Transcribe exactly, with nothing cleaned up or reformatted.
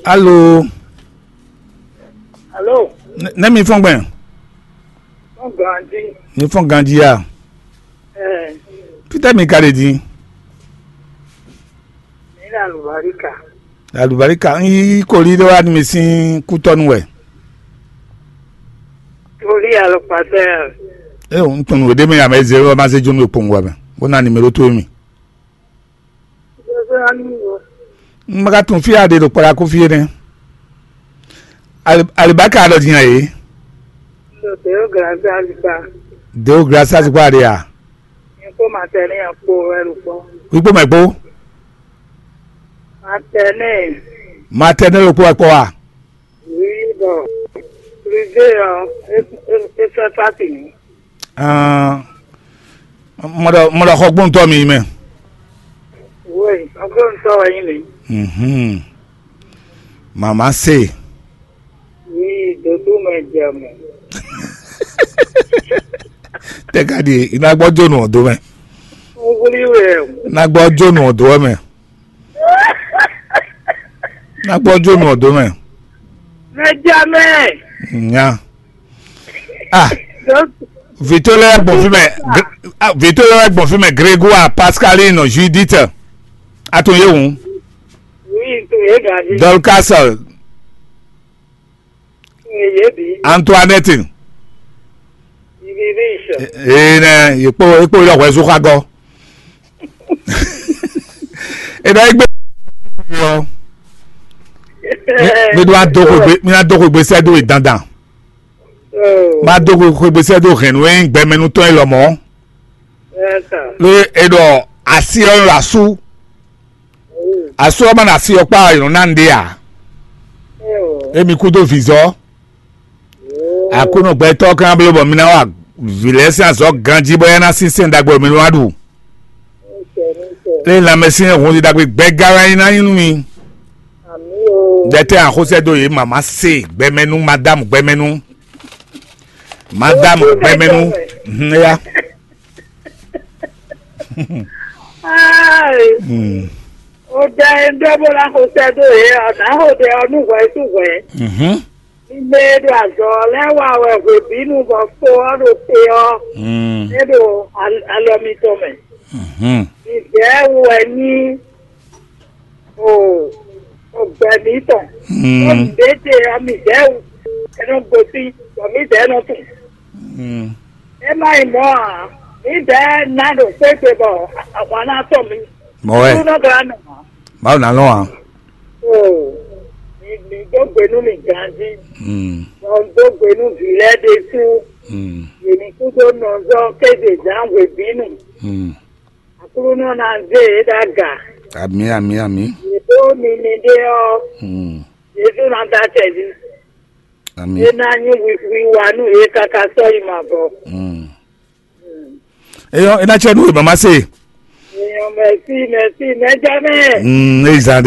Alo. Alo. Nɛ mi fɔn gbɛn. Fɔn ganji. Mi fɔn ganji ya. Ɛɛ. Peter mi ka ɖe din. Mi na lubarika. Alubarika n yi koli ɖe wa mi sin kutɔnu wɛ. Koli alɔkpatɛ. E o n tun ɖe mi ya mɛ zero ma se jonu kpɔn wa mɛ. Bona numéro to mi. N ma ka tunwun fí a ɖe ɖo kpɔɖa kó fí é nɛ́. Alibaka ɖɔ din a yě? Deo grasa zikpa. Deo grasa zikpa ɖe a? Nyɛ kpó matɛnɛ kpó wɛ ɖo kpɔ́. Wíkpó mɛ kpó? Matɛnɛ. Matɛnɛ ɖo kpó wɛ kpɔ́ a? Oui, bon. Privé ɔ́, é é é fẹ́ fásitì ní. Ahn, mɔ ɖɔ mɔ ɖɔ xɔgbóntɔ́ mi mɛ. Oui, xɔgbóntɔ́ wɛ nyí mi. Mhm. Mama se. Oui, dodo mɛ jɛ mɛ. Tɛ ka ɖi i ná gbɔ jónu ɔ dó mɛ. Wúlí wɛ. I ná gbɔ jónu ɔ dó mɛ. I ná gbɔ jónu ɔ dó mɛ. Mɛ jɛ mɛ. Nya. Ah. Vito lɛ gbɔn fi mɛ. Vito lɛ gbɔn fi mɛ, Grégoire, Pascaline, Judith. Atun ye wu. Oui, to ye gadi. Dorcas. Antoinette. Ee nɛ yekpo yekpo yɔ hwɛ zu xagɔ. Ena egbe ɔ. Mi do ado xwegbe mi ado xwegbe sɛ do yi dandan. Ma do xwegbe sɛ do hɛn nú e gbɛmɛnú tɔn yi lɔmɔ. Lé e ɖɔ asi ɔ ɖo asú. Asú ɔ́ ma ɖo asi ɔ́ kpá ɔ́, è nɔ ná nǔɖé ǎ. Émi kúdó vǐzɔ́. Aklúnɔ gbɛtɔ́ ɔ́ ka ná bló bɔ mi ná wa vǐ lɛ́ɛ sín azɔ̌ ganjí bɔ é ná sín sɛ́n ɖagbe mi nú wa ɖu. Lé lanmɛsyɛn hun ɖagbe gbɛ́gá wɛ é ná nyí nú mi. Ɖɛtɛ́ axosɛ́ dó yě mama se gbɛmɛnú, madámu gbɛmɛnú. Madámu gbɛmɛnú. Mhm, éyá. Ai, Mm. O da e ɖɔ bó ná xo sɛ́ dó yě ɔ́, nǎ xo ɖɛ ɔ́ nú hwɛ sú hwɛ. Mhm. Mi mɛ e ɖo azɔ̌ lɛ́ɛ wa wɛ hwebǐnu bɔ kpo ɔ́ ɖo te ɔ́, Mm. é ɖo al- alɔ mitɔn mɛ. Mhm. Mi vɛ́ wɛ ní o o gbɛ mǐtɔn. Mm. Bó nǔɖé te ɔ́, mi vɛ́ wɛ é nɔ gosín, bɔ mǐdɛɛ nɔ tunwun. Mm. É má nyí mɔ̌ ǎ, mǐdɛɛ ná ɖo xwé gbe bɔ ahwan ná tɔ mǐ. Mɔ̌ wɛ. Nú nɔ glá nɔ ǎ. Mawu ná lɔn ǎ. O, mi mi dó gbe nú mi ganjí. Mm. Bɔ un dó gbe nú vǐ lɛ́ɛ ɖésú. Mm. Yě ní kúdó nɔzɔ́ kéze zǎn hwebǐnu. Mm. Aklúnɔ ná zé yě ɖó aga. Amǐ, amǐ, amǐ. Yě ɖó mi mi ɖé ɔ́, Mm. Jezu ná dó acɛ jí. Amǐ. É ná nyí wi- wiwa nú yě káká sɔ́ yi mavɔ. Mm. Eyɔ, é ná cɛ nú wěma ma se. Èèyàn mẹ̀sí mẹ̀sí mẹ́jọ mẹ́. Mm, é yi zan ɖe.